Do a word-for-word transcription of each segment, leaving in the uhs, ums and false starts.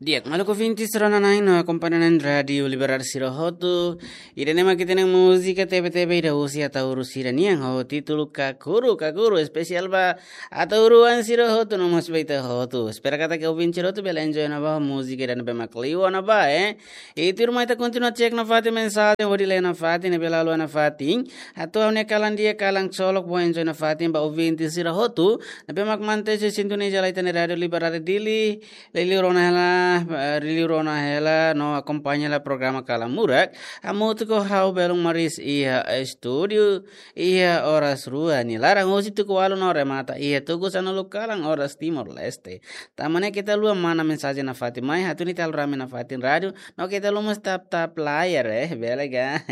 Di'ak, maluk ouvinte sira-ne'e no akompaña na'in Rádiu Liberal sira hotu. Ida-ne'e mak ita-nia múzika tebe-tebe ida husi Ataúru sira-nian ho títulu Kakuru, Kakuru, espesiál ba Ataúru-oan sira hotu no mós ba ita hotu. Espera katak ouvinte sira hotu bele enjoy ona ba múzika ida ne'ebé mak liu ona ba, eh. I tuirmai ita kontinua cek nafatin mensajen hodi lee nafatin ne'ebé la haluha nafatin. Atu ha'u-nia kalan di'ak, kalan ksolok, bom enjoy nafatin ba ouvinte sira hotu ne'ebé mak mantein sintoniza hela ita-nia Rádiu Liberal Dili. Liuliu rona hela, eh, liuliu rona hela no akompaña hela programa Kalan Murak hamutuk ho ha'u Belun Maris iha estúdiu, iha oras rua nia laran husi tuku ualu no remata iha tuku sanulu kalan oras Timor-Leste. Tanba ne'e keta haluha mana mensajen nafatin mai, hatún ita halo rame nafatin rádiu, no keta haluha mós tap-tap layar, eh, bele ka.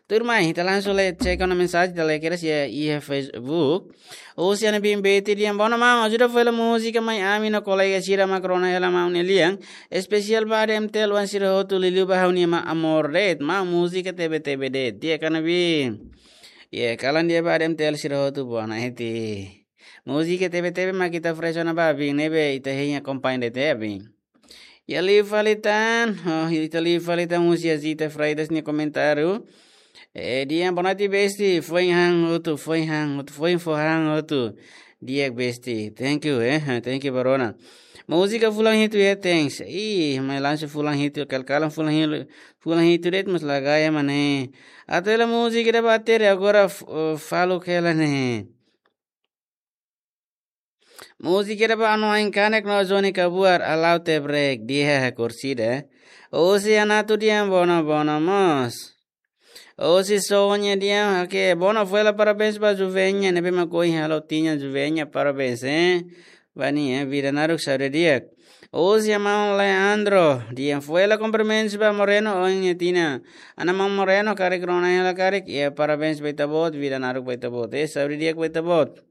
Tuirmai, ita langsung lee, cek ona mensajen, ita lee kedas iha, iha Facebook. Husi Ana Bimbeti dehan: "Bona maun, ajuda fó hela múzika mai ami no kolega sira mak rona hela maun nia lian. Espesiál ba Adam Tel-oan sira hotu, liuliu ba ha'u-nia maun Amor de'it, maun múzika tebe-tebe de'it." Di'ak Ana Bim. Iha kalan di'ak ba Adam Tel sira hotu, bona eti. Múzika tebe-tebe mak ita oferese ona ba Bim, ne'ebé ita hein akompaña de'it, eh, Bim. Iha liu fali tan, oh, ita liu fali tan husi Azita Freitas nia komentáriu. Eh, dehan: "Boa noite, besti. Foin han hotu, foin han hotu, foin fó han hotu." Di'ak, besti. Thank you, eh. Thank you ba rona. Múzika fulan hitu, eh, thanks. Ih, mai langsung fulan hitu, kal-kalan fulan hitu, fulan hitu de'it mós la gaya mane. Atu hela múzika ida ba Tere, agora f-, oh, faluk hela ne'e. Múzika ida ba Anuain Kanek no Johnny Kabuar, Alau Tebrek, di'ak, kursida. Husi Anatu dehan: "Bona, bona mós." Husi Sonia dehan: "Oke, bona, fó hela parabéns ba Juvenya, ne'ebé mak ohin halo tinan Juvenya, parabéns, eh. Ba nia, eh, vida naruk, saúde di'ak." Husi maun Leandro dehan: "Fó hela kumprimentus ba Moreno ohin nia tinan." Ana maun Moreno, karik rona hela karik, iha parabéns ba ita-boot, vida naruk ba ita-boot, eh, saúde di'ak ba ita-boot.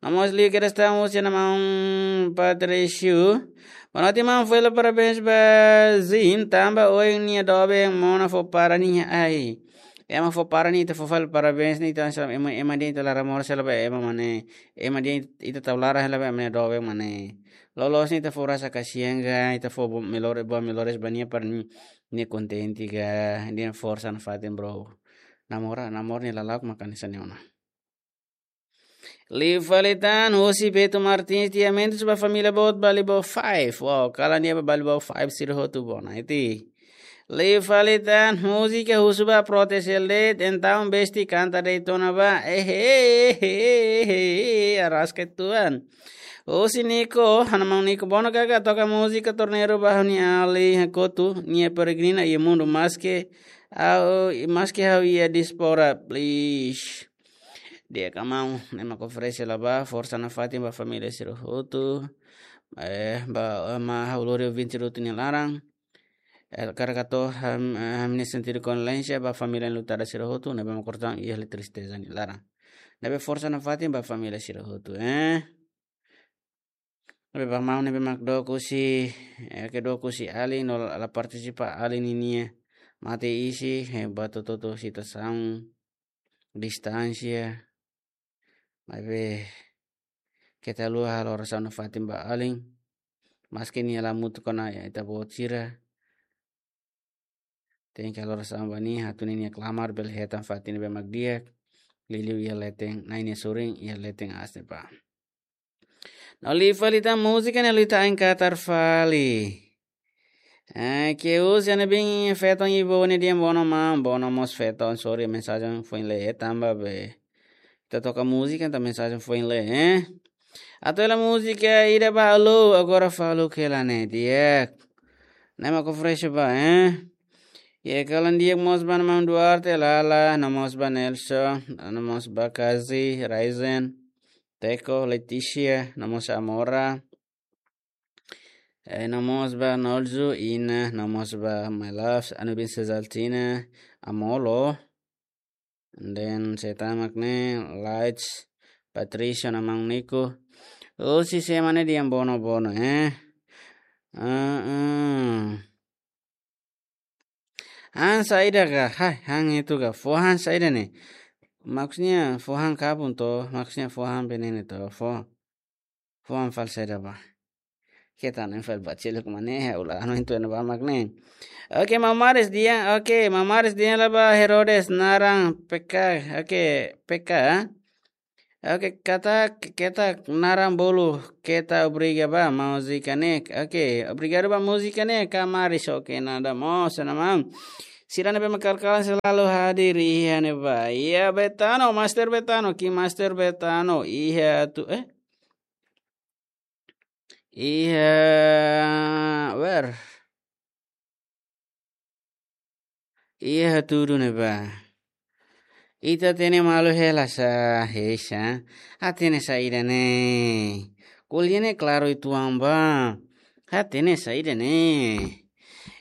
No mós liu kedas tan husi ana maun Patricio. Boa noite maun, fó hela parabéns ba Zin, tanba ohin nia doben mona fó para nia ai. Ema fó para nia, ita fó fali parabéns nia, ita sa ema, ema dehan ita laran moras hela ba ema mane, ema dehan ita tau laran hela ba ema nia doben mane. Loloos ne'e ita fó rasa kasihan ka, ita fó bo-, melhor, boa melhores ba nia para nia, nia kontente ka, nia forsa nafatin, bro. Namora, namora nia lala'ok mak hanesan ne'e ona. Liu fali tan husi Beto Martins dehan: "Mentus ba família boot Balibo Five." Wow, kalan di'ak ba Balibo Five sira hotu, bona eti. Liu fali tan múzika husu ba Protes L D, entaun besti kanta de'it ona ba. Ehe, ehe, ehe, ehe, araska tuan. Husi Nico, ana maun Nico: "Bona kaka, toka múzika Torneiro ba ha'u-nia alin hakotu, nia peregrina iha mundu, maske ha'u, maske ha'u iha diáspora, please." Di'ak maun, ne'e mak oferese hela ba, forsa nafatin ba família sira hotu. Eh, ba, eh, ema ha'u lori ouvinte sira hotu nia laran. Eh, hakarak hato'o ham-, eh, ha'u-nia sentidu kondolénsia ba família enlutada sira hotu, ne'ebé mak kortan iha tristeza nia laran. Ne'ebé forsa nafatin ba família sira hotu, eh. Ne'ebé ba maun ne'ebé mak dook husi, eh, ke dook husi alin no la, la partisipa alin ninia mate isin, eh, ba to'o, to'o, to'o situasaun distánsia. Maibé keta haluha halo orasaun nafatin ba alin. Maske nia la hamutuk ona ita-boot sira, tenke halo orasaun ba nia, hatún nia klamar bele hetan fatin ne'ebé mak di'ak. Liuliu iha leten, Nai nia sorin, iha leten aas ne'ebá. No liu fali tan múzika ne'e liután katar fali. Eh, ke husi Ana Bim Feton Ibo ne'e dehan: "Bona maun, bona mós Feton, sorry mensajen foin lee tanba be ita toka múzika, entaun mensajen foin lee, eh." Atu hela múzika ida ba Alô, agora faluk hela ne'e, di'ak. Ne'e mak oferese ba, eh. Iha kalan di'ak mós ba ana maun Duarte, Lala, no mós ba Nelson, no mós ba Kazi, Raizen, Teko, Leticia, no mós Amora. Eh, no mós ba Nolzu, Ina, no mós ba My Loves, Anubin Sezaltina, Amolo. And then, sé tan mak ne'e, Lights, Patricia, no maun Nico. Husi sé mak ne'e dehan: "Bona, bona, eh." Ah, ah. Han saida ka? Hai, han itu ka? Fó han saida ne'e? Maksudnya fó han kabun to, maksudnya fó han veneno to, fó, fó han fali saida ba? Keta ne'e fali ba celu kemana ya, ulah anu itu anu ba mak ne'e. Oke, Mamaris dia, oke, Mamaris dia lah ba Herodes naran P K, oke, P K. Oke, keta, keta naran bolu, keta obriga ba múzika ne'e. Oke, obrigadu ba múzika ne'e, Kamaris, oke, nada mós, nada mau. Sira ne'ebé mak kalan-kalan selalu hadir iha ne'ebá. Iya, Betano, Master Betano, ki Master Betano, iha tu, eh? Iha, where? Iha tudu ne'ebá. Ita hatene malu hela sá, hei sá. Hatene saida ne'e. Ko'alia ne'e klaru uitoan ba. Hatene saida ne'e.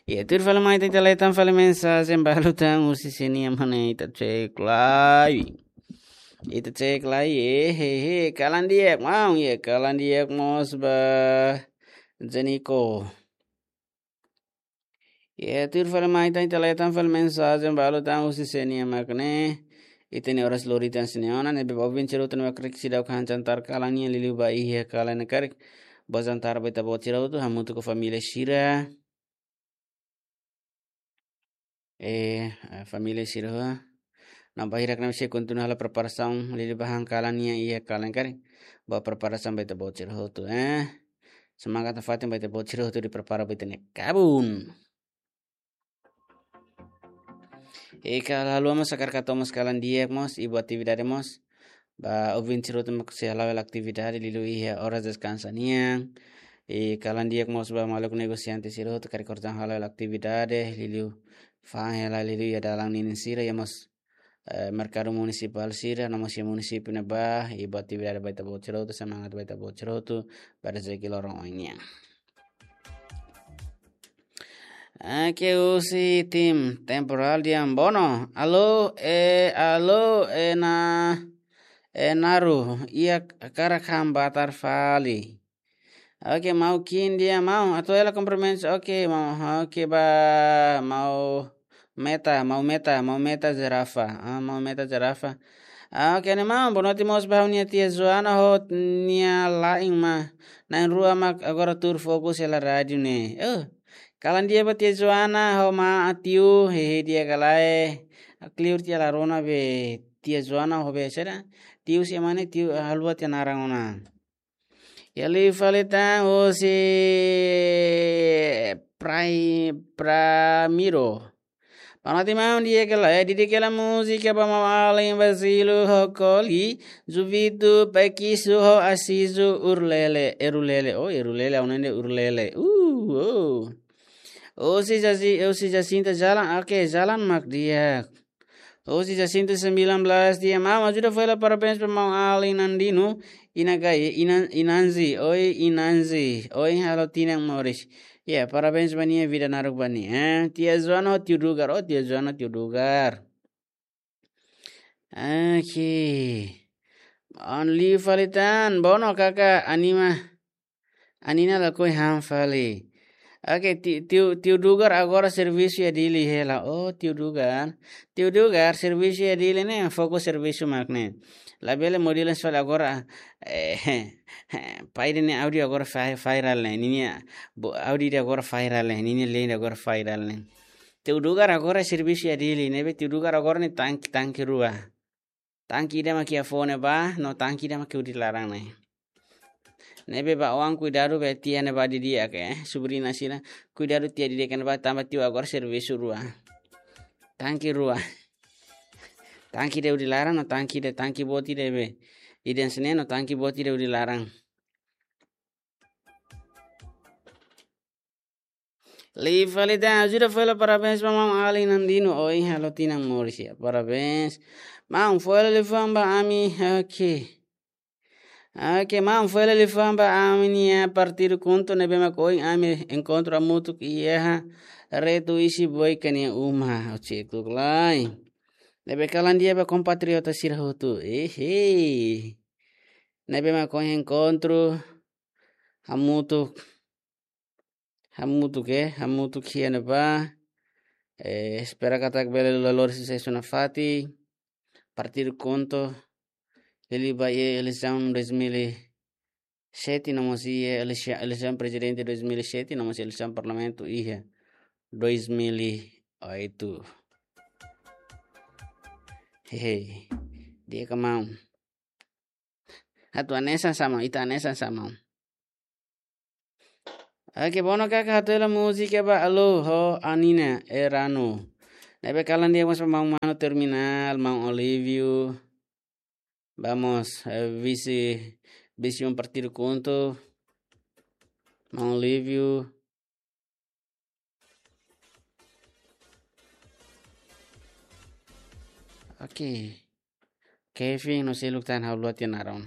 Iya, tuir fali mai ita leta fali mensajen balu tan husi sira-nia mane ita cek lai. Ita cek lai, eh, he, he, kalan di'ak, maun, iya, kalan di'ak mós ba. Janiko. Iya, tuir fali mai ita leta fali mensajen balu tan husi sira-nia mak ne'e. Ita-nia oras lori tan sira-nia ona, ne'ebé ba ouvinte sira hotu ne'ebé mak karik seidauk han jantar kalan nian liuliu ba iha kalan ne'e karik. Bá jantar ba ita-boot sira hotu, hamutuk ho família sira. Eh, eh, família sira ho. Nah, ba hirak ne'e sei kontinua halo preparasaun liuliu ba han kalan nian iha kalan ne'e karik. Bá preparasaun ba ita-boot sira hotu, eh. Semangat nafatin ba ita-boot sira hotu hodi prepara ba ita-nia kabun. Ika lalu mós hakarak hato'o mós kalan di'ak mós, i buat atividade mós. Ba ouvinte sira hotu mak sei hala'o hela atividade liuliu iha oras deskansa nian. I kalan di'ak mós ba maluk negosiante sira hotu karik oras ida hala'o hela atividade liuliu fa'an hela liuliu iha dalan ninin sira, iha mós, eh, merkadu munisipál sira, no mós iha munisípiu ne'ebá, i buat atividade ba ita-boot sira hotu, semangat ba ita-boot sira hotu, ba rezeki loron oin nian. Oke, husi tim Temporal Diambono. Alô, eh, alô, eh, na, eh, Naru, iha hakarak han batar fali. Oke, maun Kim dia, maun, atu hela kumprimentu. Oke, maun, oke, ba, maun Meta, maun Meta, maun Meta Zerafa. Ah, maun Meta Zerafa. Ah, oke, ne'e maun, boa noite mós ba ha'u-nia tia Joana ho nia la'en mak na'in-rua mak agora tuur fokus hela rádiu ne'e. Oh, kalan di'ak ba tia Joana ho maun Atiu, hehe di'ak ka lae. Kliur tiha la rona be tia Joana ho be saida. Tiu si mane tiu, ah, haluha tiha naran ona. Iha liu fali tan husi Prai-, Pramiro. Boa noite maun, di'ak ka lae, di'ak ka lae múzika ba maun-alin Bazilu ho Koli, Juvito, Pekisu ho Asizu, Urlele, Erulele, oh, Erulele, ha'u-nia ne'e Urlele. Uh, oh. Husi Jaci-, husi Jacinta Jalan, oke, Jalan mak di'ak. Husi Jacinta sembilan belas dia, maun, ajuda fó hela parabéns ba maun-alin Nandino, Inagai, Inan-, Inanzi, oi Inanzi, ohin halo tinan moris. Ya, parabéns ba nia, vida naruk ba nia. Eh, tia Joana ho tiu Dugar, oh, tia Joana, tiu Dugar. Oke. Only fali tan, bono kaka anima. Anina lakohi han fali. Oke, ti-, tiu, tiu Dugar agora servisu iha Dili hela. Oh, tiu Dugar. Tiu Dugar servisu iha Dili ne'e, fokus servisu mak ne'e. Labele model fali agora. Eh, pai ida-nia áudiu agora vi-, viral ne'e. Ninia, bo-, áudiu ida agora viral ne'e. Ninia lei ida agora viral ne'e. Tiu Dugar agora servisu iha Dili, ne'ebé tiu Dugar agora ne'e tanki, tanki rua. Tanki ida mak iha foun ne'ebá, no tanki ida mak iha hudi laran ne'e. Ne'ebé ba oan kuidadu be tia ne'ebá didi'ak, eh, sobrina sira. Kuidadu tia didi'ak ne'ebá tanba tiu agora servisu rua. Tanki rua. Tanki ida hudi laran, no tanki ida, tanki boot ida be. Ida hanesan ne'e no tanki boot ida hudi laran. Liu fali tan, ajuda fó hela parabéns ba maun-alin Nandino, ohin halo tinan moris ya. Parabéns. Maun, fó hela liafuan ba ami, oke. Oke, maun, fó hela liafuan ba ami-nia partidu KHUNTO ne'ebé mak ohin ami enkontru hamutuk iha Retu Isiboika nia uma, o cek tuk lai. Ne'ebé kalan di'ak ba kompatriota sira hotu. Ehe. Ne'ebé mak ohin enkontru hamutuk. Hamutuk, eh, hamutuk iha ne'ebá. Eh, espera katak bele lori susesu nafatin. Partidu KHUNTO. Liuliu ba iha eleisaun dois mil e, sete, no mós iha eleisaun, eleisaun prezidente dois mil e sete, no mós eleisaun parlamentu iha dois mil e oito. Hehe. Di'ak ka maun? Atu hanesan sá maun, ita hanesan sá maun? Oke, Bono Kaka hato'o hela múzika ba Alô ho Anina Erano. Ne'ebé kalan di'ak mós ba maun manu Terminal, maun Olívio. Vamos, eh, vise, vise um partido conto. Maun Olívio. Oke. Kevin, no sei luk tan hau luat ya naron.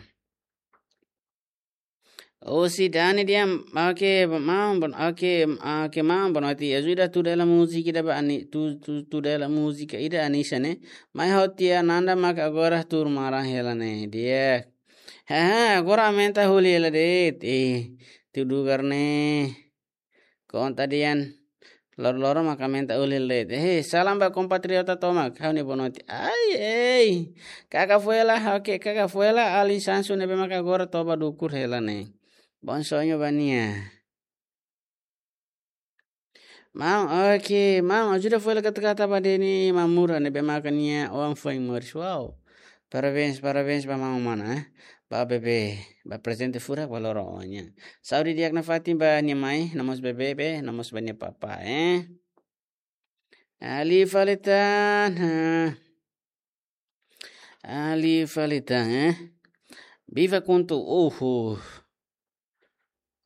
Oh, si Dani dia, oke, maun, bon, oke, oke, maun, bon, ati, ajuda tuda hela múzika ida ba ani, tu, tu, tuda hela múzika ida Anisa ne'e. Mai hotu ya nanda mak agora tuur maran hela ne'e. Di'ak. Haha, agora aumenta holi hela de'it. Eh, tu dugar ne'e. Konta dian. Loro-loro mak aumenta holi hela de'it. Eh, salam ba kompatriota tomak. Ha'u-nia boa noite. Ai, ei. Kaka Fuela, oke, Kaka Fuela, alin Sansu ne'ebé mak agora toba dukur hela ne'e. Bom sonho ba nia. Maun, oke, maun, ajuda Fuela kata-kata ba Deni Mamura ne'ebé maka nia oan foin moris. Wow. Parabéns, parabéns ba maun mana, eh. Ba bebé, ba prezente furak ba loro-oan nian. Saúde di'ak nafatin ba nia mai, no mós bebé, be, no mós ba nia papá, eh. Ali fali tan, ha. Ali fali tan, eh. Viva Kuntu, uhu.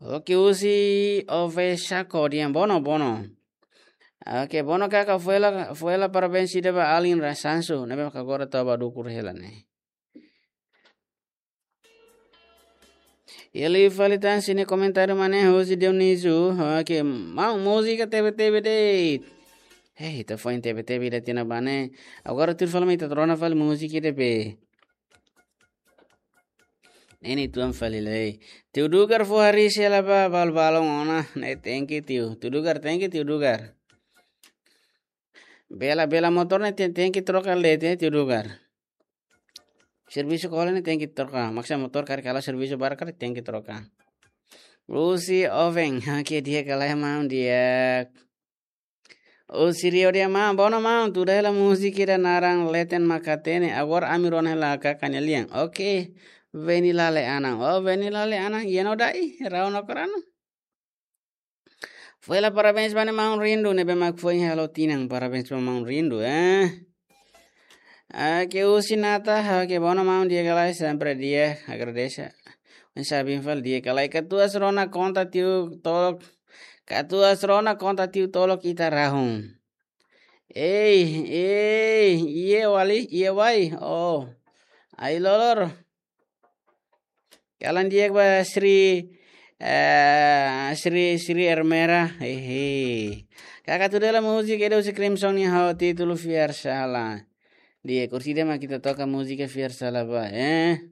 Oke, husi Ove Sako dian, Bono, Bono. Oke, Bono Kaka Fuela, Fuela parabéns ida ba alin Ra Sansu ne'ebé mak agora toba dukur hela ne'e. Ele fali tan sini komentáriu mane husi Dionísio. Oke, maun múzika tebe-tebe de'it. Hei, ita foin tebe-tebe ida tiha ona ba ne'e. Agora tuir fali mai ita rona fali múzika ida be. Ne'e nia tuan fali lai. Tiu Dugar fó hariis hela ba balu-balun ona. Ne'e tenke tiu. Tiu Dugar, tenke tiu Dugar. Bela, bela motór ne'e ten, tenke troka de'it, eh, tiu Dugar. Servisu kola ne'e tenke troka. Maksa motór karik halo servisu barak karik tenke troka. Husi Oven, oke di'ak ka lae maun di'ak. Husi Rio di'ak maun, Bono maun, tuda hela múzika ida naran Leten mak hatene, agora ami rona hela Kaka nia lian. Oke, Veni Lale Anan. Oh, Veni Lale Anan, iha ona dai, rau no korano. Fuela parabéns ba nia maun Rindu, ne'ebé mak foin halo tinan, parabéns ba maun Rindu, eh. Oke, husi Nata, oke, Bono maun di'ak ka lae, sempre di'ak, agradese. Oinsá bin fali di'ak ka lae, katuas rona konta tiu tolok, katuas rona konta tiu tolok ita rahun. Ei, ei, iha wali, iha wai, oh. Ai-lolor. Kalan di'ak ba Sri, eh, Sri, Sri Ermera. Hehe. Kaka tuda hela múzika ida husi Crimson nia ho títulu Fiar Sala. Di'ak, orsida mak ita toka múzika Fiar Sala ba, eh.